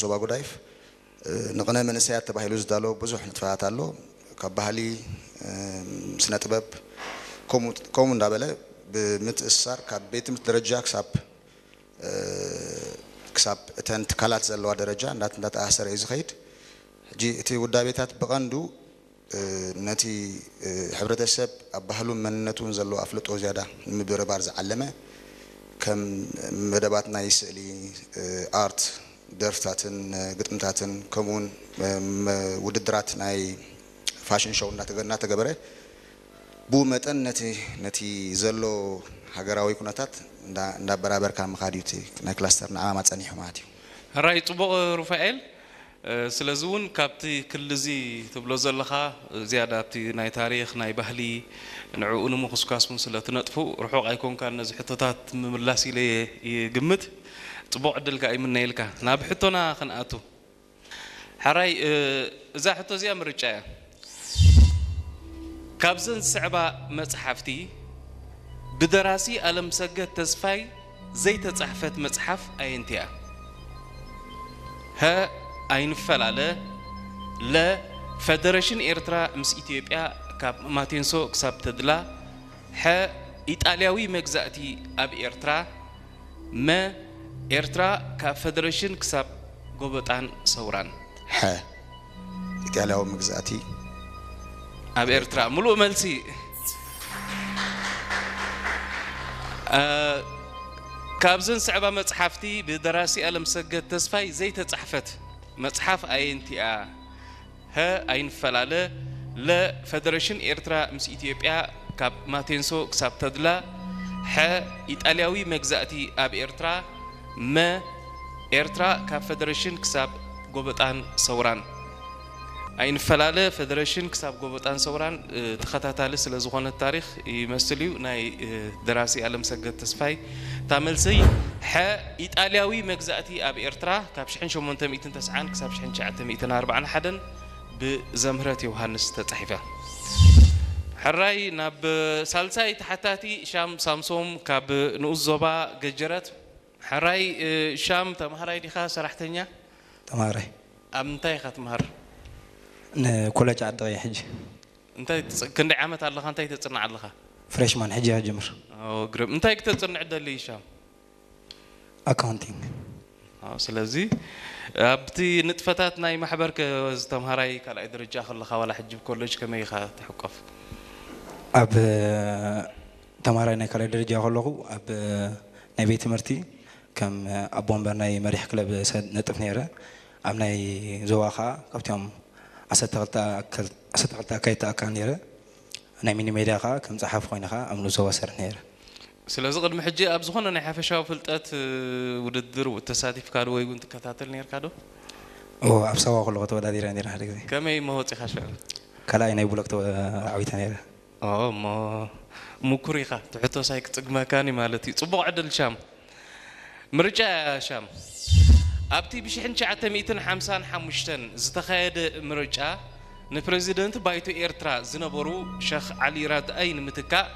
ዞባ ጉዳይፍ ንቕነ መንእሰያት ተባሂሉ ዝዳሎ ብዙሕ ንጥፈታት ኣሎ። ካብ ባህሊ፣ ስነ ጥበብ፣ ከምኡ እንዳበለ ብምትእስሳር ካብ ቤት ትምህርቲ ደረጃ ክሳብ ክሳብ እተን ትካላት ዘለዋ ደረጃ እንዳተኣሳሰረ እዩ ዝኸይድ። ሕጂ እቲ ውዳቤታት ብቐንዱ ነቲ ሕብረተሰብ ኣብ ባህሉን መንነቱን ዘለዎ ኣፍልጦ ዝያዳ ንምብርባር ዝዓለመ፣ ከም መደባት ናይ ስእሊ፣ ኣርት፣ ደርፍታትን ግጥምታትን፣ ከምኡውን ውድድራት ናይ ፋሽን ሾው እናተገበረ፣ ብኡ መጠን ነቲ ነቲ ዘሎ ሃገራዊ ኩነታት እንዳበራበርካ ምኻድ እዩ እቲ ናይ ክላስተርና ዓላማ ጸኒሑ ማለት እዩ። ሕራይ ጽቡቕ ሩፋኤል። ስለዚ እውን ካብቲ ክሊ እዚ ትብሎ ዘለኻ ዝያዳ ኣብቲ ናይ ታሪኽ ናይ ባህሊ ንዕኡ ንምኹስኳስ እውን ስለ ትነጥፉ ርሑቕ ኣይኮንካን ነዚ ሕቶታት ምምላስ ኢለ እየ ይግምት። ጽቡቕ ዕድል ከኣ ይምነየልካ። ናብ ሕቶና ክንኣቱ። ሕራይ እዛ ሕቶ እዚኣ ምርጫ እያ። ካብዘን ዝስዕባ መጽሓፍቲ ብደራሲ ኣለምሰገድ ተስፋይ ዘይተጻሕፈት መጽሓፍ ኣየንቲ እያ? ሀ ኣይንፈላለ፣ ለ ፈደረሽን ኤርትራ ምስ ኢትዮጵያ ካብ ማቴንሶ ክሳብ ተድላ፣ ሐ ኢጣልያዊ መግዛእቲ ኣብ ኤርትራ፣ መ ኤርትራ ካብ ፈደረሽን ክሳብ ጎበጣን ሰውራን። ሐ ኢጣልያዊ መግዛእቲ ኣብ ኤርትራ። ምሉእ መልሲ። ካብዘን ዝስዕባ መጽሓፍቲ ብደራሲ ኣለምሰገድ ተስፋይ ዘይተጻሕፈት መጽሓፍ ኣየንቲኣ? ሀ ኣይንፈላለ፣ ለ ፈደረሽን ኤርትራ ምስ ኢትዮጵያ ካብ ማቴንሶ ክሳብ ተድላ፣ ሐ ኢጣልያዊ መግዛእቲ ኣብ ኤርትራ፣ መ ኤርትራ ካብ ፈደረሽን ክሳብ ጎበጣን ሰውራን። ኣይንፈላለ፣ ፈደረሽን ክሳብ ጎበጣን ሰውራን ተኸታታሊ ስለ ዝኾነ ታሪኽ ይመስል እዩ። ናይ ደራሲ ኣለምሰገድ ተስፋይ እታ መልሰይ ሐ ኢጣልያዊ መግዛእቲ ኣብ ኤርትራ ካብ ሽሕን ሸሞንተ ሚእትን ተስዓን ክሳብ ሽሕን ትሽዓተ ሚእትን ኣርባዓን ሓደን ብዘምህረት ዮውሃንስ ተጻሒፋ። ሕራይ ናብ ሳልሳይ ተሓታቲ ሻም ሳምሶም ካብ ንኡስ ዞባ ገጀረት። ሕራይ ሻም ተምሃራይ ዲኻ ሰራሕተኛ? ተምሃራይ። ኣብ ምንታይ ኢኻ ትምሃር? ንኮለጅ ዓዲ ቀይሕ ሕጂ። እንታይ ክንደይ ዓመት ኣለኻ? እንታይ ተጽንዕ ኣለኻ? ፍሬሽማን ሕጂ ኢኻ ጀምር። ግርም። እንታይ ክተጽንዕ ደሊ ሻም? ኣካውንቲንግ። ስለዚ ኣብቲ ንጥፈታት ናይ ማሕበር ዝተምሃራይ ካልኣይ ደረጃ ከለኻ ዋላ ሕጂ ብኮሌጅ ከመይ ኢኻ ትሕቆፍ? ኣብ ተምሃራይ ናይ ካልኣይ ደረጃ ከለኹ ኣብ ናይ ቤት ትምህርቲ ከም ኣቦ ወንበር ናይ መሪሕ ክለብ ነጥፍ ነይረ። ኣብ ናይ ዞባ ከዓ ካብቲኦም ዓሰርተ ክልተ ኣካየድቲ ኣካል ነይረ። ናይ ሚኒ ሜድያ ከዓ ከም ጸሓፊ ኮይነ ከዓ ኣብ ንኡስ ዞባ ሰርሕ ነይረ። ስለዚ ቅድሚ ሕጂ ኣብ ዝኾነ ናይ ሓፈሻዊ ፍልጠት ውድድር ተሳቲፍካ ዶ ወይ እውን ትከታተል ነርካ ዶ? እወ፣ ኣብ ሳዋ ከለኹ ተወዳዲረ ነይረ ሓደ ግዜ። ከመይ እሞ ወጺኻ ሽዑ? ካልኣይ ናይ ብሎክ ተዓዊተ ነይረ። እሞ ምኩር ኢኻ፣ እቲ ሕቶስ ኣይክጽግመካን እዩ ማለት እዩ። ጽቡቕ ዕድል ሻም። ምርጫ ሻም ኣብቲ ብሽሕን ትሽዓተ ሚእትን ሓምሳን ሓሙሽተን ዝተኻየደ ምርጫ ንፕረዚደንት ባይቶ ኤርትራ ዝነበሩ ሸኽ ዓሊ ራድኣይ ንምትካእ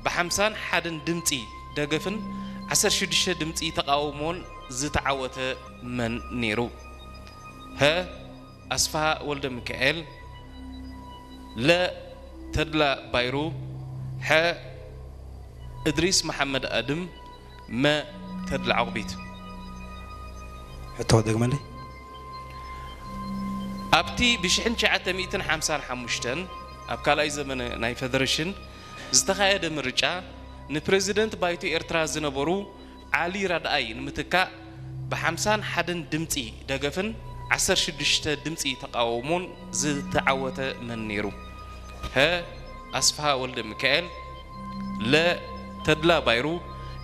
ብሓምሳን ሓደን ድምጺ ደገፍን ዓሰርተ ሽዱሽተ ድምጺ ተቓውሞን ዝተዓወተ መን ነይሩ? ሀ ኣስፍሃ ወልደሚካኤል፣ ለ ተድላ ባይሩ፣ ሐ እድሪስ መሓመድ ኣድም፣ መ ተድላ ዑቕቢት። ሕቶ ደግመለይ። ኣብቲ ብሽሕን ትሽዓተ ሚእትን ሓምሳን ሓሙሽተን ኣብ ካልኣይ ዘመነ ናይ ፈደረሽን ዝተኻየደ ምርጫ ንፕረዚደንት ባይቶ ኤርትራ ዝነበሩ ዓሊ ራድኣይ ንምትካእ ብሓምሳን ሓደን ድምጺ ደገፍን ዓሰርተ ሽዱሽተ ድምጺ ተቓውሞን ዝተዓወተ መን ነይሩ? ሀ ኣስፍሃ ወልደሚካኤል፣ ለ ተድላ ባይሩ፣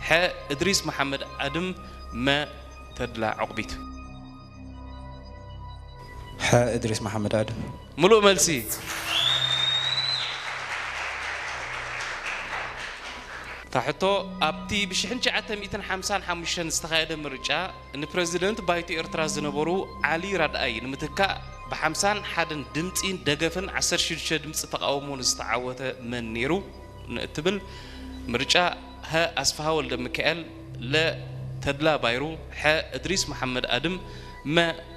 ሐ እድሪስ መሓመድ ኣድም፣ መ ተድላ ዑቕቢት። ሐ እድሪስ መሓመድ ኣድም። ምሉእ መልሲ። እታ ሕቶ ኣብቲ ብሽሕን ትሽዓተ ሚእትን ሓምሳን ሓሙሽተን ዝተኻየደ ምርጫ ንፕረዚደንት ባይቶ ኤርትራ ዝነበሩ ዓሊ ራድኣይ ንምትካእ ብሓምሳን ሓደን ድምጺ ደገፍን ዓሰርተ ሽዱሽተ ድምጺ ተቓውሞን ዝተዓወተ መን ነይሩ ንእትብል ምርጫ ሀ ኣስፍሃ ወልደሚካኤል፣ ለ ተድላ ባይሩ፣ ሐ እድሪስ መሓመድ ኣድም፣ መ